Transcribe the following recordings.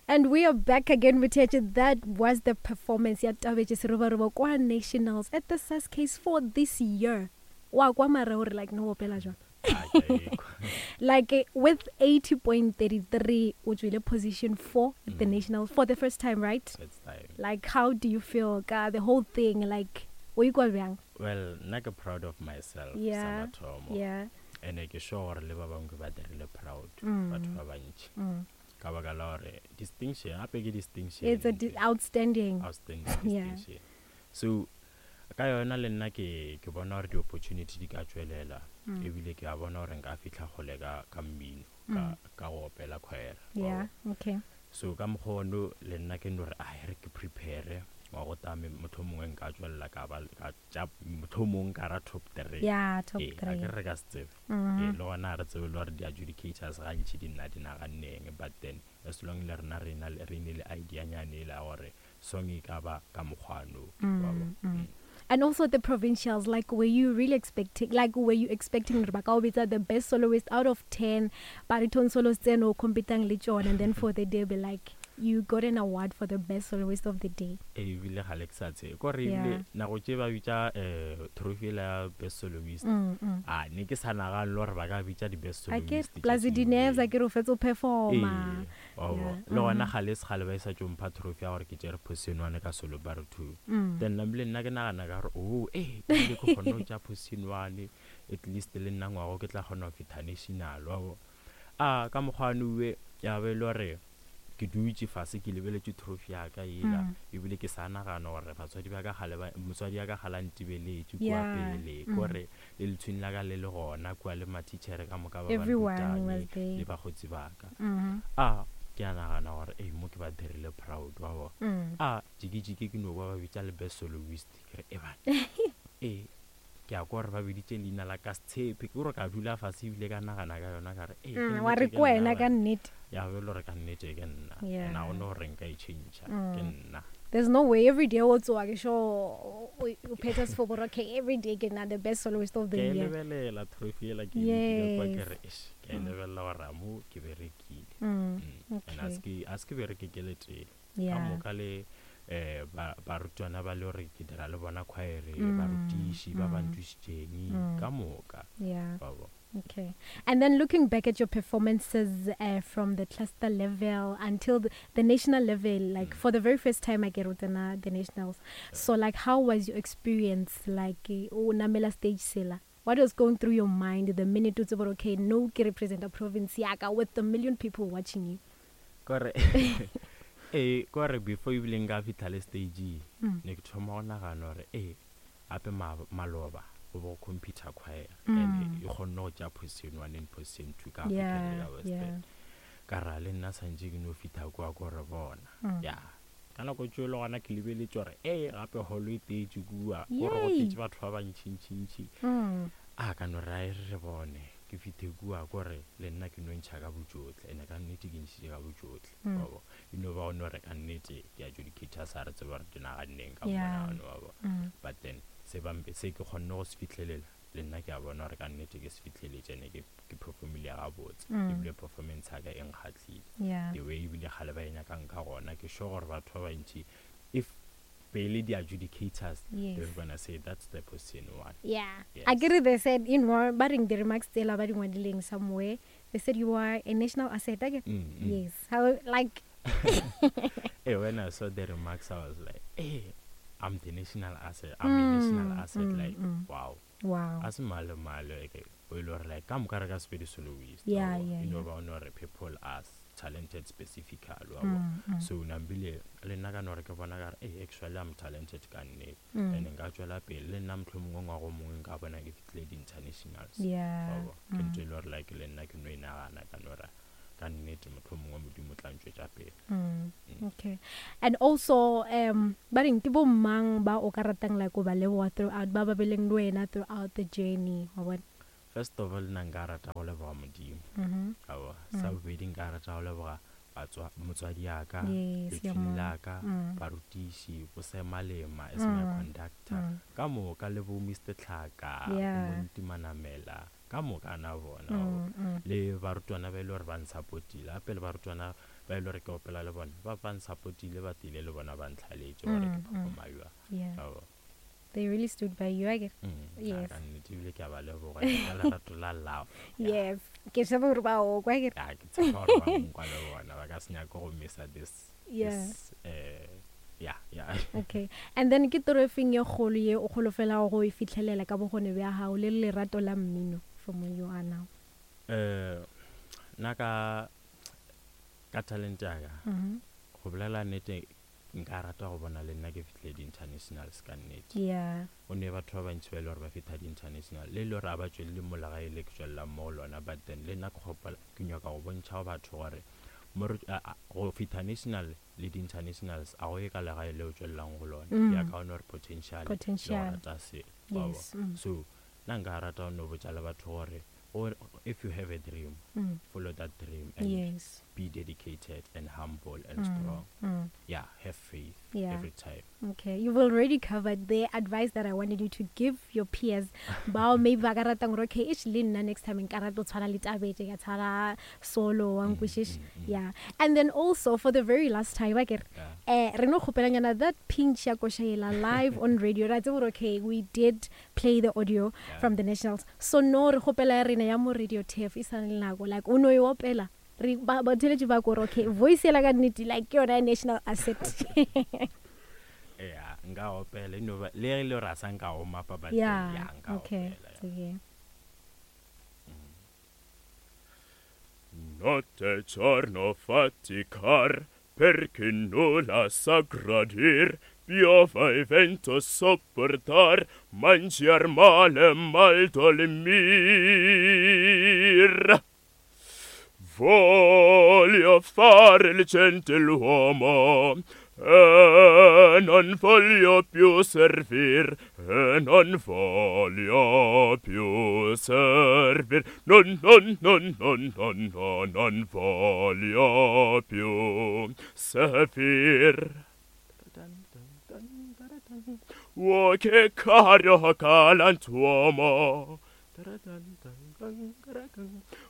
And we are back again with That was the performance ya Tabetše Serobaroba kwa Nationals at the SASCase for this year. Wa kwa mara gore like no opela jwang. Like with 80.33 o tswile position 4 at the nationals for the first time, right? First time. Like how do you feel ka the whole thing, like o ikwa bjang? Well, nna ke proud of myself sa mathomo. Ene ke sure gore le ba bangwe ke ba dirile proud, batho ba bantši. Ka baka la gore distinction gape ke distinction. It's a outstanding. Outstanding distinction. So ka yona le nna ke ke bona gore di-opportunity di ka tswelela, ebile ke a bona gore nka fitlha kgole ka ka mmino, ka ka go opela choir. Yeah, okay. So ka mokgwa ono le nna ke no re a re ke prepare wa go tame, motlho mongwe nka tswelela ka ba ka tša, motlho mongwe ka ra top 3. Yeah, top 3. 3. A ke re ka se tsebe. Ee, le gona re tsebe le gore di-adjudicators gantši di nna di naganneng, but then as long le rena re na re ne le idea nyane e la gore song e ka ba ka mokgwano wa bo. And also the provincials, like were you really expecting, like were you expecting gore ba ka o bitsa the best soloist out of 10 baritone solos tseno o competang le tšona, and then for the day be like you got an award for the best soloist of the day? Ee, ebile ga le ke sa tsebe kore ebile nako tše ba bitša trophy ela ya best soloist, a ne ke sa nagane le gore ba ka bitša di-best A ke soloist tše plus tšeo. di-nerves, a ke re o fetsa o performa. Ee, wa bo. Le gona ga le se gale ba e sa tšo mpha trophy ya gore ke tšere position 1 ka solo baritone. Then nna bile nna ke nagana ka gore, oh, ee, ebile ke kgonne go tšea position 1, at least le nna ngwago ke tla kgona go fitha national, wa bo. A ka mokgwa wa ya be e le gore ke dutše fase ke lebeletše trophy ya ka ela, ebile ke sa nagana gore batswadi ba ka gale ba, motswadi ya ka gale a ntebeletše kua pele, kore le letshwini la ka le le gona kua, le mathitšhere ka moka ba ba Everyone nrutang, was there. Le bakgotsi ba ka. A ke a nagana gore ei, mo ke ba dirile proud, wa bo. A jikijiki ke no kwa ba bitša le best soloist, ke re e bana, ee, ke a kwa gore ba biditše leina la ka Setshepe, ke gore ka dula fase ebile ka nagana ka yona ka re ee, ke Wa nnete re ke ke wena nna ka bana. nnete. Ya be e le gore ka nnete ke nna. And a gona gore nka e change, ke nna. There's no way every day o tsoa ke sure o phetha sefoboro, okay, every day ke nna the best soloist of the Ke e year. lebelela trophy ela ke e ke kwa ke Yes. re eish, ke e lebelela gore a mo ke berekile. And a se ke bereke ke le tee. Ka moka le barutwana ba le gore ke dira le bona choir, barutiši ba ba nthušitšeng ka moka. Wa bo. Okay. And then looking back at your performances from the cluster level until the national level, like for the very first time I get the nationals. So like how was your experience, like o namela stage sela? What was going through your mind the minute you said, okay, no, ke represent a province yaka with the million people watching you? Kore kore before ebile nka fihla le stage, ne ke thoma go nagana gore gape maloba go bo computer choir, and e kgonne go tšea position 1 and position 2 ka African le ka Western. Ka ra le nna santše ke no fihla kua ko re bona. Ya ka nako tšeo le gona ke lebeletše gore gape holo e tetše kua, gore go tetše batho ba bantšintšintši. A ka no re a e re bone ke fithe kua, kore le nna ke no ntšha ka botšohle, ene ka nnete ke ntšhitše ka botšohle. Wa bo, e no ba go no re ka nnete di-adjudicators a re tsebe gore di naganneng ka monagano wa bo. But then se ba se ke kgonne go se fihlelela, le nna ke a bona gore ka nnete ke se fihleletše, ene ke performile gabotse, ebile performance ya ka e nkgahlile. The way ebile kgale ba e nyakang ka gona, ke sure gore batho ba bantši if pele di-adjudicators, they're gonna say that's the position 1. Yeah. Yes. I get it, they said in one but in the remarks tsela ba di ngwadileng somewhere, they said you are a national asset. Okay? Yes. How like Hey, when I saw the remarks, I was like, hey, I'm the national asset. I'm a national asset. Like, wow. Wow. As malo malo, okay. We were like, come ka sepedi soloist. Yeah, yeah, You know, yeah. ba no re people as talented specifically. So nambile le nna ka no re ke bona ka re, hey, actually I'm talented ka nnete. And nka tswela pele le nna mohlomongwe ngwaga o mongwe nka bona ke fihlile di-internationals. Yeah. Wa bo. Ke ntho e le gore like le nna ke no e nagana ka no re ka nnete mohlomongwe Modimo o tla ntšwetša pele. Okay. And also ba reng ke bo mang ba o ka ratang like o ba leboga throughout, ba ba beleng le wena throughout the journey, wa bona? First of all, nna nka rata go leboga Modimo. Wa bo. Sa bobedi nka rata go leboga Batswa motswadi ya ka, Yes, ya lethwini mo. la ka, barutiši, bo Semalema as my conductor, ka moka le bo Mister Tlhaka, bo Monti Manamela, ka moka na bona, wa bo. Le barutwana ba e le gore ba nsupportile, gape le barutwana ba e le gore ke opela le bona, ba ba nsupportile, ba tlile le bona ba ntlhaletše gore ke performa bjang, wa bo. They really stood by you, I get. Yes. Ka nnete ebile ke a ba leboga ka lerato la love. Yes. Ke tshepa gore ba o kwa ke. Ya, ke tshepa gore ba nkwa le bona, ba ka se nyake go missa this. Yeah. This, yeah, yeah. Okay. And then ke toro e feng ye kgolo ye o kgolofelago go e fihlelela ka bokgoni bja gago le lerato la mmino from where you are now? Nna ka talent ya ka, go bolela nnete, nka rata go bona le nna ke fihlile di-internationals ka nnete. Yeah. Go ne batho ba bantši ba e le gore ba fihla di-international, le e le gore ga ba tšwelele mo legae le ke tšwelelang mo go lona, but then le nna ke gopola ke nyaka go bontšha go batho gore mo re, a, a, go fihla national le di-internationals a go ye ka legae le o tšwelelang go lona. Ya kaone gore potential, le go Potential. rata selo, wa Yes. bona. So nna nka rata go no botša le batho gore or if you have a dream, follow that dream and be dedicated and humble and strong. Yeah, have faith every time. Okay, you've already covered the advice that I wanted you to give your peers. Bao maybe ba ka ratang gore, okay, ish le nna next time nka rata ho tshwana le Tabete, ka tshwana solo, wa nkwešiša. Yeah. And then also for the very last time, akere, re no kgopelanyana that pinch ya koša yela live on radio. Ra tseba gore, okay, we did play the audio from the nationals. So no re kgopela ya rena ya mo radio TF e sa le nako, like o no e opela. Re ba theletše ba kore, okay, voice yela ka nnete, like ke yona ya national asset. Yeah, nka opela, no ba, le ge le gore a sa nka o mapa, but Yeah, yeah, nka okay, opela, yeah. okay. Notte giorno faticar, perché nulla sa gradir, piova e vento sopportar, mangiar male, mal dormir. Voglio fare il gentiluomo, e non voglio più servir, e non voglio più servir, non, non, non, non, non, non, non voglio più servir. O che caro galantuomo,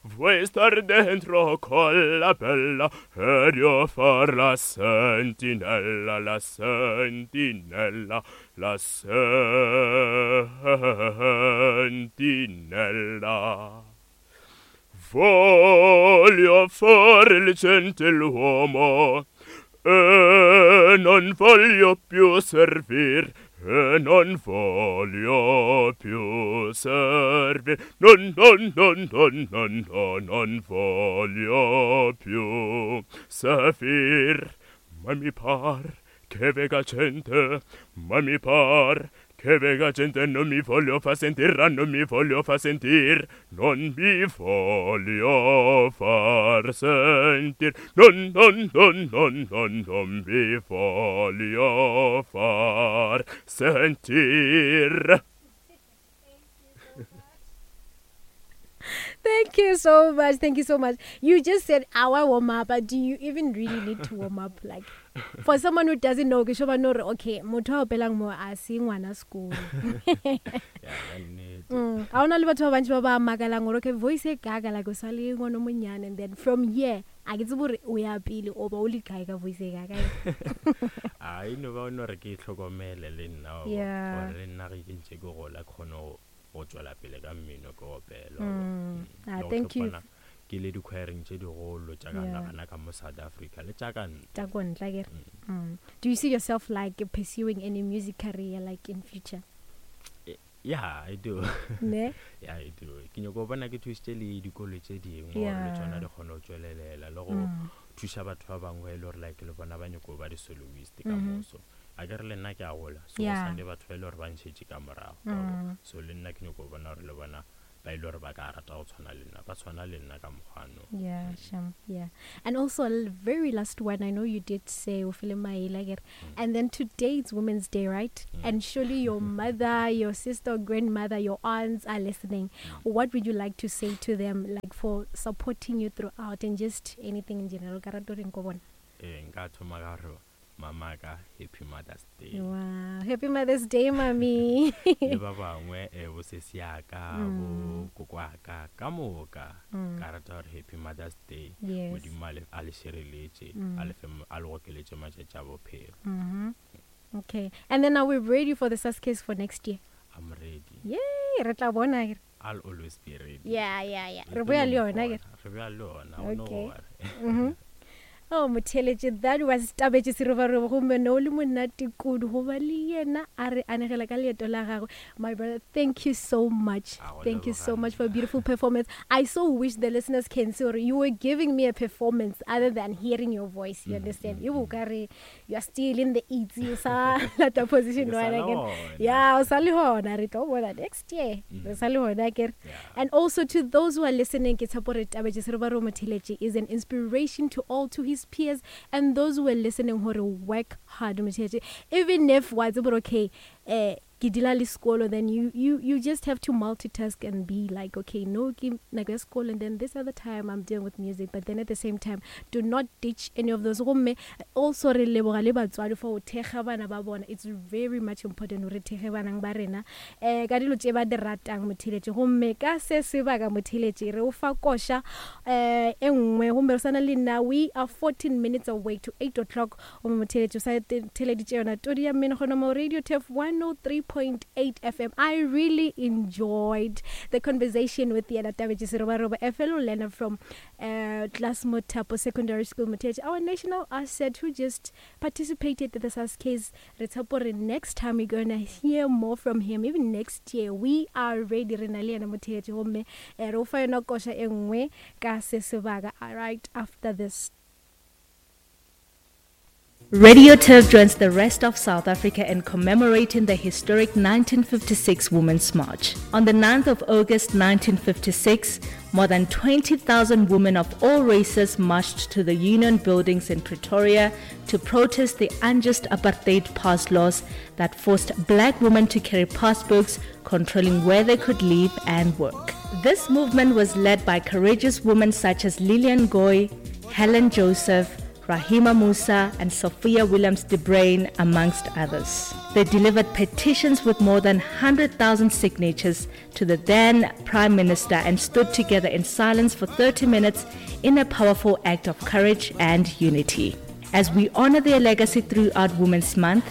vuoi star dentro con la bella ed io far la sentinella, la sentinella, la sentinella. Voglio fare il gentiluomo e non voglio più servir, e non voglio più servir, non, non, non, non, non, non, non voglio più servir. Ma mi par che vega gente, ma mi par che vega gente, non mi voglio fa sentir, non mi voglio fa sentir, non mi voglio far sentir, non, non, non, non, non, non mi voglio far sentir. Thank you so much. Thank you so much. You just said our warm up, but do you even really need to warm up? Like, for someone who doesn't know, ke sure ba no re, okay, motho a opelang mo a se ngwana sekolo. Yeah, ka nnete. Ha hona le batho ba bantši ba ba makalang gore, okay, voice e kaka, like o sa le ngwana o monyane, and then from here, a ke tsebe gore o ya pele o ba o le kae ka voice e kaka. A e no ba o no re ke itlhokomele le nna, wa bona. Yeah. Gore le nna ge ke ntse ke gola, ke kgone go tšwela pele ka mmino ke opela, wa bona. Le go Thank you. tlhopana ke le di-choireng tše digolo tša ka Yeah. nagana ka mo South Africa le tša ka ntle. Tša ko ntle, akere? Do you see yourself like pursuing any music career like in future? Yeah, I do. Ne? Yeah, I do. Ke nyako bona ke thusitše le dikolo tše dingwe gore le Yeah. tšona di kgone go tšwelelela le go thuša batho ba bangwe e le gore like le bona ba nyako ba di-soloist ka moso. A ke re le nna ke a gola, so go Yeah. sane batho ba e le gore ba ntšhetše ka morago, wa bona. So le nna ke nyako bona gore le bona ba ile gore ba ka rata go tshwana le nna ba tshwana le nna ka mokgwano. Yeah, sham. Yeah. And also, very last one, I know you did say o file maele, akere? And then today it's Women's Day, right? And surely your mother, your sister, grandmother, your aunts are listening. What would you like to say to them, like for supporting you throughout and just anything in general? Ka rata o reng ko bona? Ee, nka thoma ka gore mama ka, happy Mother's Day. Wow. Happy Mother's Day, mommy. Le ba bangwe bo sesi ya ka, bo koko wa ka, ka moka ka rata gore happy Mother's Day. Yes. Modimo a le, a le šireletše, a le fe, a le gokeletše matšatši a bophelo. Okay. And then are we ready for the SASCASE for next year? I'm ready. Yay, re tla bona akere. I'll always be ready. Yeah. Re Re boya tlo le yona mpona. akere. Re boya le yona, o no Okay. worry. Oh, motheeletše, that was Tabetše Serobaroba, gomme no le monate kudu go ba le yena a re anegela ka leeto la gagwe. My brother, thank you so much. A go Thank you so leboga much for a nna. beautiful performance. I so wish the listeners can see gore you were giving me a performance other than hearing your voice, you understand? E bo ka re you are still in the eats, you sa lata position Ke sa one le again. gona. Yeah, o sa le gona, re tlo bona next year. Re sa le gona akere. Yeah. And also to those who are listening, ke tshepa gore Tabetše Serobaroba motheeletše is an inspiration to all, to his peers and those who are listening gore work hard motheeletše. Even if wa tseba gore okay, ke dula le sekolo, then you just have to multitask and be like, okay, no, ke nako ya sekolo, and then this other time I'm dealing with music, but then at the same time do not ditch any of those. Gomme also re leboga le batswadi for go thekga bana ba bona. It's very much important gore re thekge banang ba rena, ka dilo tše ba di ratang motheeletše. Gomme ka se sebaka motheeletše re o fa koša, e nngwe, gomme re sana le nna, we are 14 minutes away to 8 o'clock. Gomme motheeletše o sa theeleditše yona todi ya mmino gona mo Radio Turf 103.8 FM. I really enjoyed the conversation with yena Tabetše Serobaroba, a fellow learner from Klaas Mothapo Secondary School motheeletše, our national asset who just participated in the SASCASE. Re tshepa gore next time we're going to hear more from him. Even next year we are ready. Re na le yena motheeletše, gomme, re o fa yona koša e nngwe ka se sebaka right after this. Radio Turf joins the rest of South Africa in commemorating the historic 1956 Women's March. On the 9th of August 1956, more than 20,000 women of all races marched to the Union buildings in Pretoria to protest the unjust apartheid pass laws that forced black women to carry passbooks controlling where they could live and work. This movement was led by courageous women such as Lillian Goy, Helen Joseph, Rahima Moosa and Sophia Williams de Bruyn, amongst others. They delivered petitions with more than 100,000 signatures to the then Prime Minister and stood together in silence for 30 minutes in a powerful act of courage and unity. As we honor their legacy throughout Women's Month,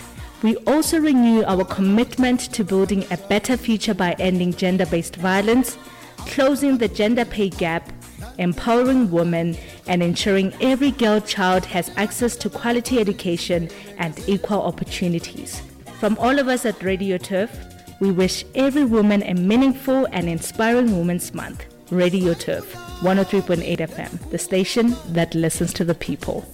we also renew our commitment to building a better future by ending gender-based violence, closing the gender pay gap, empowering women, and ensuring every girl child has access to quality education and equal opportunities. From all of us at Radio Turf, we wish every woman a meaningful and inspiring Women's Month. Radio Turf, 103.8 FM, the station that listens to the people.